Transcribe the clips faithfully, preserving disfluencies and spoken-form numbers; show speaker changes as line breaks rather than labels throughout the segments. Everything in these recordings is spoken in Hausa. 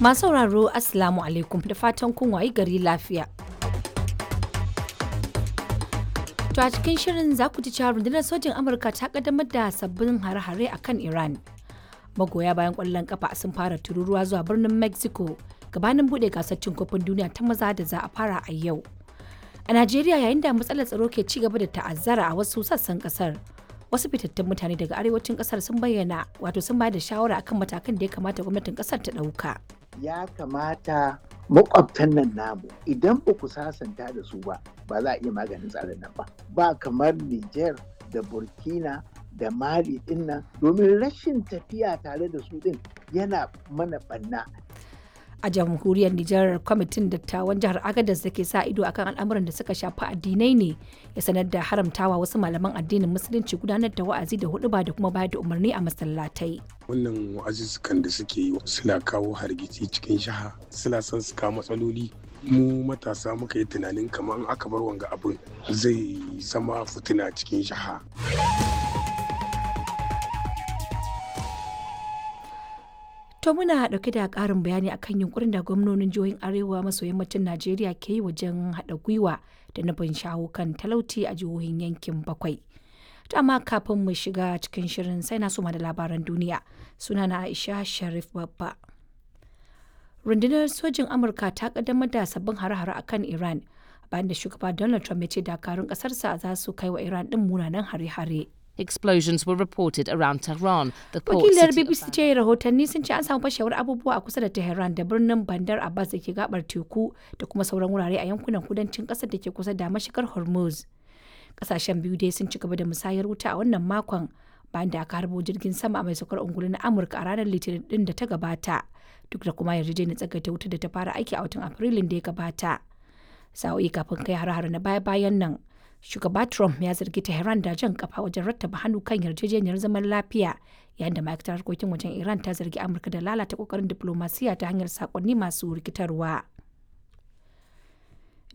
Masu sauraro, Assalamu alaikum, da fatan kun wayi gari lafiya. To a cikin shirin za ku ji cewa rundunar sojin Amurka ta kaddamar da sabbin hare-hare a kan Iran. Magoya bayan kwallon kafa sun fara tururuwa zuwa birnin Mexico gabanin buɗe gasar cin kofin duniya ta maza da za a fara a yau. A Najeriya, yayin da matsalar tsaro ke ci gaba da ta'azzara a wasu sassan kasar, wasu fitattun mutane daga arewacin kasar sun bayyana wato sun bayar da shawara akan matakan da ya kamata gwamnatin kasar ta ɗauka.
Ya kamata makwabtan nan namu, idan ba ku sasanta da su ba, ba za a iya maganin tsarin nan ba. Ba kamar Niger da Burkina da Mali din nan, domin rashin tafiya tare da su din yana mana banna.
A jamhuriyar Nijar, kwamitin dattawan jihar Agadez da ke sa ido akan al'amuran da suka shafi addinai ne ya sanar da haramtawa wasu malaman addinin Musulunci gudanar da wa'azi da huɗuba da kuma bayar da umarni a masallatai.
Wannan wa'azuzzukan da suke yi suna kawo hargitsi cikin jiha, suna son su kawo matsaloli. Mu matasa muka yi tunanin kamar in aka bar wanga abin, zai zama fitina cikin jiha.
To muna ɗauke da ƙarin bayani akan yunkurin da gwamnonin jihohin Arewa maso yammacin Najeriya ke yi wajen haɗa gwiwa da nufin shawo kan talauci a jihohin yankin bakwai. To amma kafin mu shiga cikin shirin, sai na soma da labaran duniya. Sunana Aisha Sharif Babba. Rundunar sojin Amurka ta kaddamar da sabbin hare-hare akan Iran bayan da shugaba Donald Trump ya ce dakarun ƙasarsa za su kai wa Iran ɗin munanan hare-hare.
Explosions were reported around Tehran, the port
Wakilar
city of
B B C ce rahotanni sun ce an samu fashewar abubuwa a kusa da Tehran da birnin Bandar Abbas da ke gabar teku da kuma sauran wurare a yankunan kudancin kasar da ke kusa da mashigar Hormuz. Kasashen biyu dai sun ci gaba da musayar wuta a wannan makon bayan da aka harbo jirgin sama mai saukar ungulu na Amurka a ranar Litinin din da ta gabata, duk da kuma yarjejeniyar tsagaita wuta da ta fara aiki a watan Afrilun da ya gabata. Sa'o'i kafin kai har-hare na baya-bayan nan, shugaba Trump ya zargi Tehran da jan kafa wajen rattaba hannu kan yarjejeniyar zaman lafiya, yayin da ma'aikatar harkokin wajen Iran ta zargi Amurka da lalata kokarin diplomasiya ta hanyar sakonni masu rikitarwa.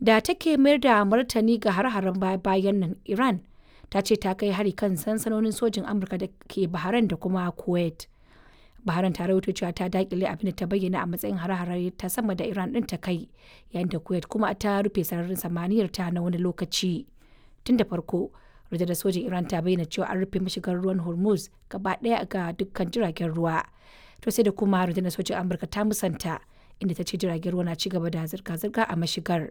Da take mayar da martani ga har-haren baya-bayan nan, Iran ta ce ta kai hari kan sansanonin sojin Amurka da ke Bahrain da kuma Kuwait. Bahrain ta rawaito cewa ta dakile abin da ta bayyana a matsayin hare-hare ta sama da Iran din ta kai, yayin da Kuwait kuma ta rufe sararin samaniyar ta na wani lokaci. Tun da farko, rundunar sojin Iran ta bayyana cewa an rufe mashigar ruwan Hormuz gaba daya ga dukkan jiragen ruwa. To sai da kuma rundunar sojin Amurka ta musanta, inda ta ce jiragen ruwa na ci gaba da zirga-zirga a mashigar.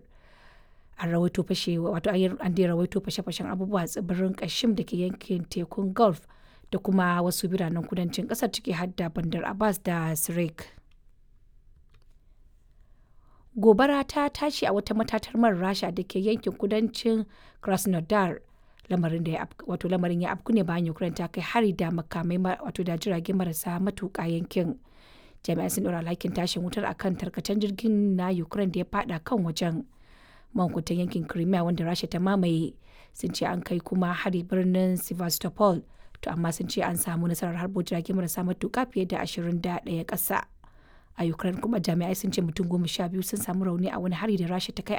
An rawaito fashe wato an dai rawaito fashe-fashen abubuwa a tsibirin Kashim da ke yankin tekun Gulf da kuma wasu biranen kudancin kasar, ciki har da Bandar Abbas da Sirik. Gobara ta tashi a wata matatar man Rasha da ke yankin kudancin Krasnodar. Lamarin da ya wato lamarin ya afku ne bayan Ukraine ta kai hari da makamai, wato da jirage marasa matuƙa yankin. Jami'an sun ɗora alhakin tashin wutar akan tarkacen jirgin na Ukraine da ya fada kan wajen. Mankuntan yankin Crimea wanda Rasha ta mamaye sun ce an kai kuma hari birnin Sevastopol, to amma sun ce an samu nasarar harbo jirage marasa matuƙa fiye da ashirin da ɗaya ƙasa. A Ukraine kuma, jami'ai sun ce mutum goma sha biyu sun samu rauni a wani hari da Rasha ta kai.